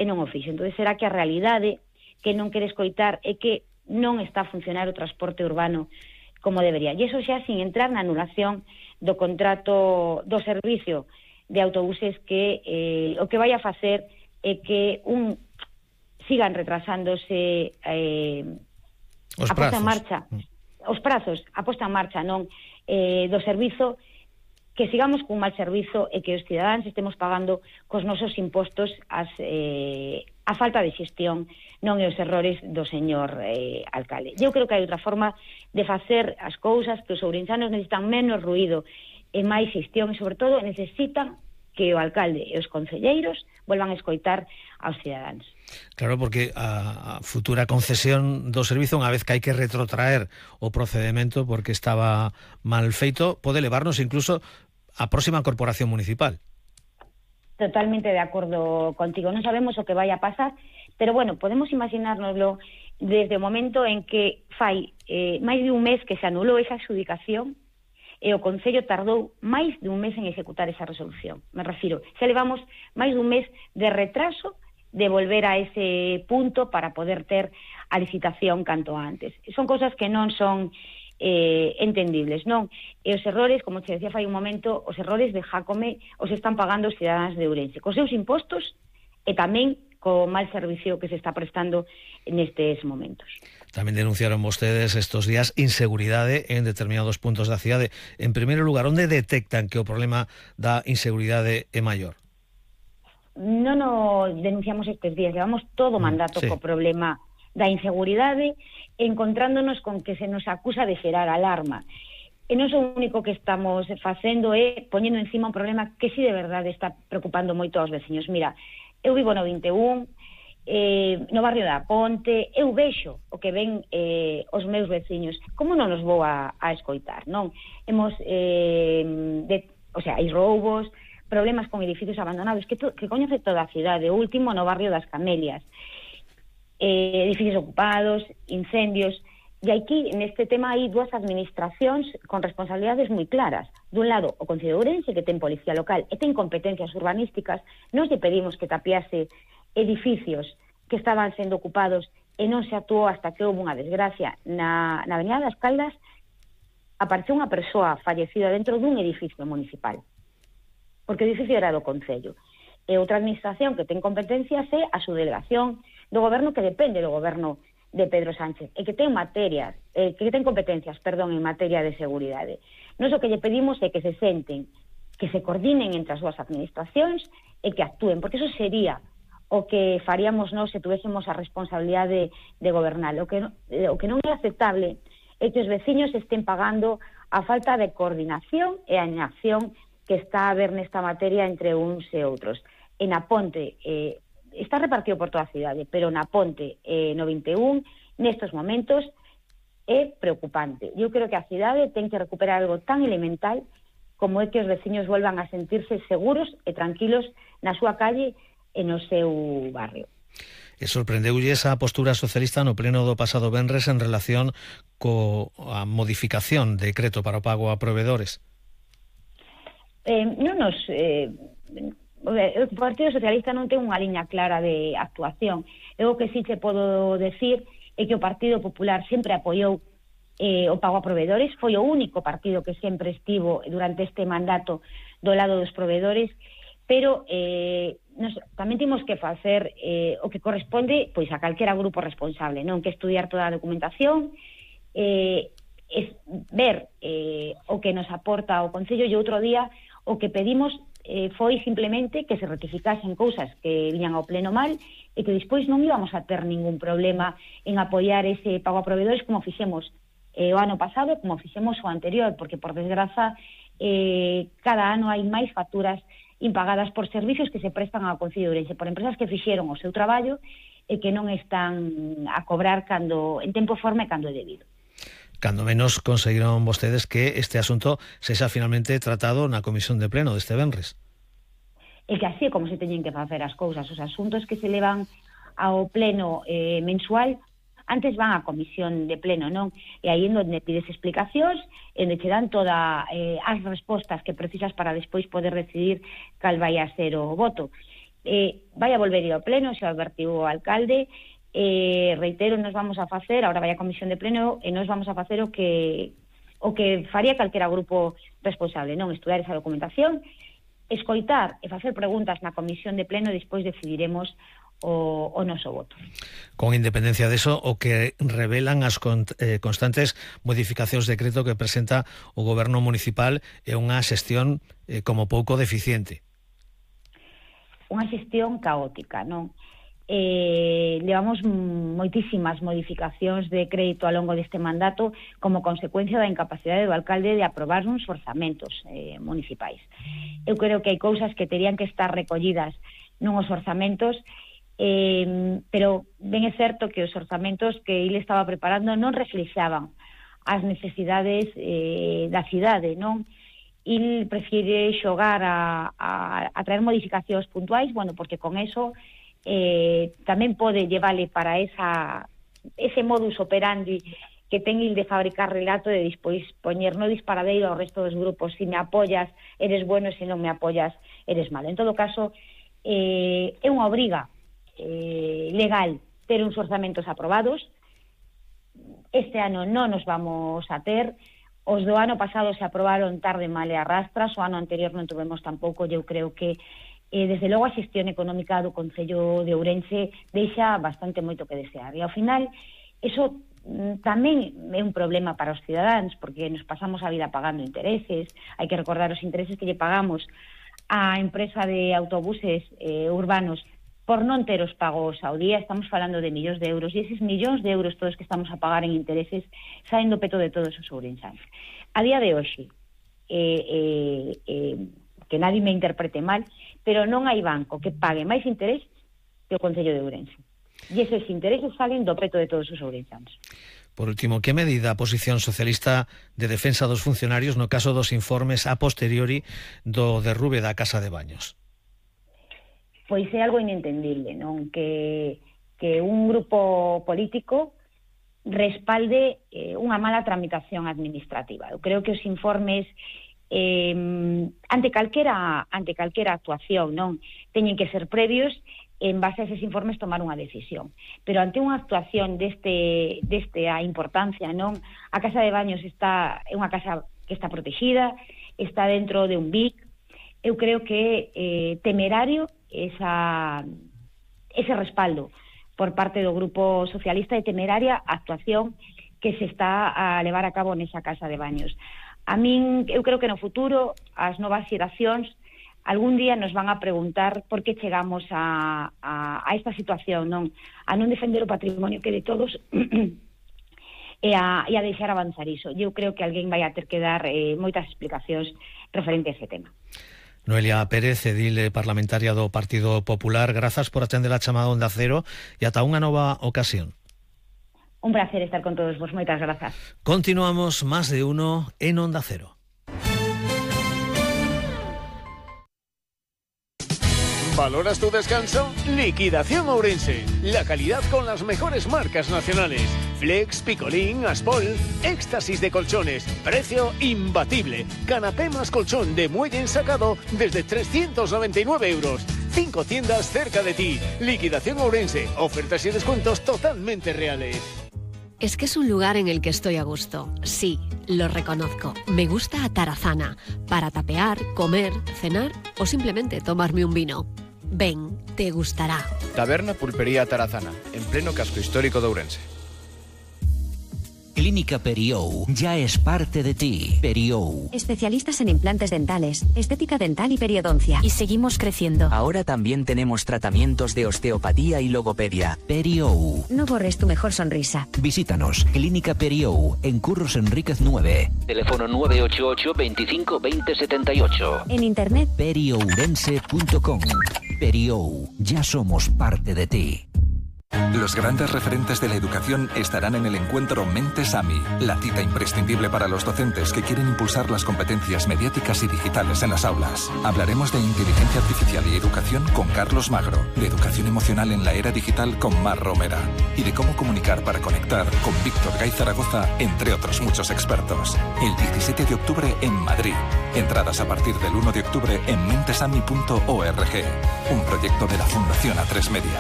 e non o fixo. Entón, será que a realidade que non quere escoitar é que non está a funcionar o transporte urbano como debería. E iso xa sin entrar na anulación do contrato do servicio de autobuses que o que vai a facer é que sigan retrasándose a posta en marcha, os prazos, a posta en marcha do servizo, que sigamos cun mal servizo e que os cidadáns estemos pagando cos nosos impostos a falta de xestión, non e os errores do señor alcalde. Eu creo que hai outra forma de facer as cousas, que os ourensanos necesitan menos ruído e máis xestión, e sobre todo necesitan que o alcalde e os concelleiros volvan a escoitar aos cidadáns. Claro, porque a futura concesión do servizo, unha vez que hai que retrotraer o procedemento porque estaba mal feito, pode levarnos incluso á próxima corporación municipal. Totalmente de acordo contigo. Non sabemos o que vai a pasar, pero bueno, podemos imaginárnoslo desde o momento en que fai máis de un mes que se anulou esa adjudicación e o Concello tardou máis de un mes en executar esa resolución. Me refiro, xa levamos máis dun mes de retraso de volver a ese punto para poder ter a licitación canto antes. Son cosas que non son entendibles, non? E os errores, como te decía fai un momento, os errores de Jácome os están pagando os cidadáns de Ourense, cos seus impostos e tamén co mal servicio que se está prestando nestes momentos. Tamén denunciaron vostedes estos días inseguridade en determinados puntos da cidade. En primeiro lugar, onde detectan que o problema da inseguridade é maior? Non o denunciamos estes días, levamos todo o mandato co problema da inseguridade, encontrándonos con que se nos acusa de xerar alarma. E non o único que estamos facendo é poñendo encima un problema que sí de verdade está preocupando moito aos veciños. Mira, eu vivo no 21, no barrio da Ponte, eu vexo o que ven os meus veciños. Como non os vou a escoitar, non? Hai roubos, problemas con edificios abandonados, que coñece toda a cidade. O último no barrio das Camelias, edificios ocupados, incendios. E aquí, neste tema, hai dúas administracións con responsabilidades moi claras. Dun lado, o Concello de Ourense, que ten policía local e ten competencias urbanísticas. Nos lle pedimos que tapiase edificios que estaban sendo ocupados e non se actuou hasta que houve unha desgracia. Na Avenida das Caldas apareceu unha persoa fallecida dentro dun edificio municipal, porque o edificio era do Concello. E outra administración que ten competencias é a subdelegación do goberno, que depende do goberno de Pedro Sánchez, e que ten competencias, en materia de seguridade. Nós o que lle pedimos é que se senten, que se coordinen entre as dúas administracións e que actúen, porque eso sería o que faríamos nós se tuvéssemos a responsabilidade de gobernar. O que non é aceptable é que os veciños estén pagando a falta de coordinación e a inacción que está a haber nesta materia entre uns e outros. En a Ponte está repartido por toda a cidade, pero na Ponte no 21, nestes momentos, é preocupante. Eu creo que a cidade ten que recuperar algo tan elemental como é que os veciños volvan a sentirse seguros e tranquilos na súa calle e no seu barrio. E sorprendeulle esa postura socialista no pleno do pasado venres en relación coa modificación de decreto para o pago a provedores? O Partido Socialista non ten unha liña clara de actuación. Eu o que sí te podo decir é que o Partido Popular sempre apoiou o pago a provedores, foi o único partido que sempre estivo durante este mandato do lado dos provedores, pero tamén temos que facer o que corresponde pois a calquera grupo responsable, non? Que estudiar toda a documentación, ver o que nos aporta o Concello, e outro día o que pedimos foi simplemente que se rectificasen cousas que viñan ao pleno mal e que despois non íbamos a ter ningún problema en apoiar ese pago a provedores como fixemos o ano pasado, como fixemos o anterior, porque por desgraza cada ano hai máis facturas impagadas por servicios que se prestan ao Concello de Ourense, por empresas que fixeron o seu traballo e que non están a cobrar en tempo e forma e cando é debido. Cando menos conseguiron vostedes que este asunto sexa finalmente tratado na comisión de pleno deste venres. E que así é como se teñen que facer as cousas. Os asuntos que se levan ao pleno mensual antes van á comisión de pleno, non? E aí onde pides explicacións, onde che dan todas as respostas que precisas para despois poder decidir cal vai a ser o voto. vai a volver ir ao pleno, xa advertiu o alcalde, reitero, nos vamos a facer, agora vai a comisión de pleno, e nos vamos a facer o que faría calquera grupo responsable, non estudar esa documentación, escoitar e facer preguntas na comisión de pleno e despois decidiremos o noso voto. Con independencia deso, o que revelan as constantes modificacións de decreto que presenta o goberno municipal é unha xestión como pouco deficiente. Unha xestión caótica, non? Levamos moitísimas modificacións de crédito ao longo deste mandato como consecuencia da incapacidade do alcalde de aprobar uns orzamentos municipais. Eu creo que hai cousas que terían que estar recollidas nuns orzamentos, pero ben é certo que os orzamentos que ele estaba preparando non reflexaban as necesidades da cidade, non? Il prefire xogar a traer modificacións puntuais, bueno, porque con eso tamén pode llevale para ese modus operandi que ten il de fabricar relato e despois poñer no disparadeiro ao resto dos grupos: si me apoyas, eres bueno, e se non me apoyas, eres malo. En todo caso, é unha obriga legal ter uns orzamentos aprobados. Este ano non nos vamos a ter. Os do ano pasado se aprobaron tarde, mal e arrastras. O ano anterior non tuvemos tampouco. Eu creo que desde logo a xestión económica do Concello de Ourense deixa bastante moito que desear, e ao final eso tamén é un problema para os cidadáns, porque nos pasamos a vida pagando intereses. Hai que recordar os intereses que lle pagamos á empresa de autobuses urbanos por non ter os pagos ao día. Estamos falando de millóns de euros, e eses millóns de euros todos que estamos a pagar en intereses saen do peto de todos os ourensáns. A día de hoxe, que nadie me interprete mal, pero non hai banco que pague máis interés que o Concello de Ourense. E eses intereses salen do peto de todos os ourensáns. Por último, que medida a posición socialista de defensa dos funcionarios no caso dos informes a posteriori do derrube da Casa de Baños? Pois é algo inentendible, non? Que un grupo político respalde unha mala tramitación administrativa. Eu creo que os informes ante calquera actuación, non, teñen que ser previos, en base a eses informes tomar unha decisión. Pero ante unha actuación desta importancia, non, a Casa de Baños é unha casa que está protegida, está dentro de un BIC. Eu creo que temerario ese respaldo por parte do Grupo Socialista, e temeraria a actuación que se está a levar a cabo nesa Casa de Baños. A min, eu creo que no futuro as novas xeracións algún día nos van a preguntar por que chegamos a esta situación, non? A non defender o patrimonio que de todos e a deixar avanzar iso. Eu creo que alguén vai a ter que dar moitas explicacións referente a ese tema. Noelia Pérez, edil parlamentaria do Partido Popular, grazas por atender a chamada Onda Cero e ata unha nova ocasión. Un placer estar con todos vos, moitas grazas. Continuamos Más de Uno en Onda Cero. ¿Valoras tu descanso? Liquidación Ourense. La calidad con las mejores marcas nacionales. Flex, Picolín, Aspol. Éxtasis de colchones. Precio imbatible. Canapé más colchón de muelle ensacado desde 399 euros. 5 tiendas cerca de ti. Liquidación Ourense. Ofertas y descuentos totalmente reales. Es que es un lugar en el que estoy a gusto. Sí, lo reconozco. Me gusta Atarazana. Para tapear, comer, cenar o simplemente tomarme un vino. Ven, te gustará. Taberna Pulpería Atarazana, en pleno casco histórico de Ourense. Clínica Periou ya es parte de ti. Periou. Especialistas en implantes dentales, estética dental y periodoncia. Y seguimos creciendo. Ahora también tenemos tratamientos de osteopatía y logopedia. Periou. No borres tu mejor sonrisa. Visítanos. Clínica Periou, en Curros Enríquez 9. Teléfono 988 25 20 78. En internet. periourense.com. Periou. Ya somos parte de ti. Los grandes referentes de la educación estarán en el encuentro Mentes AMI, la cita imprescindible para los docentes que quieren impulsar las competencias mediáticas y digitales en las aulas. Hablaremos de inteligencia artificial y educación con Carlos Magro, de educación emocional en la era digital con Mar Romera y de cómo comunicar para conectar con Víctor Gay Zaragoza, entre otros muchos expertos. El 17 de octubre en Madrid. Entradas a partir del 1 de octubre en mentesami.org. Un proyecto de la Fundación A3 Media.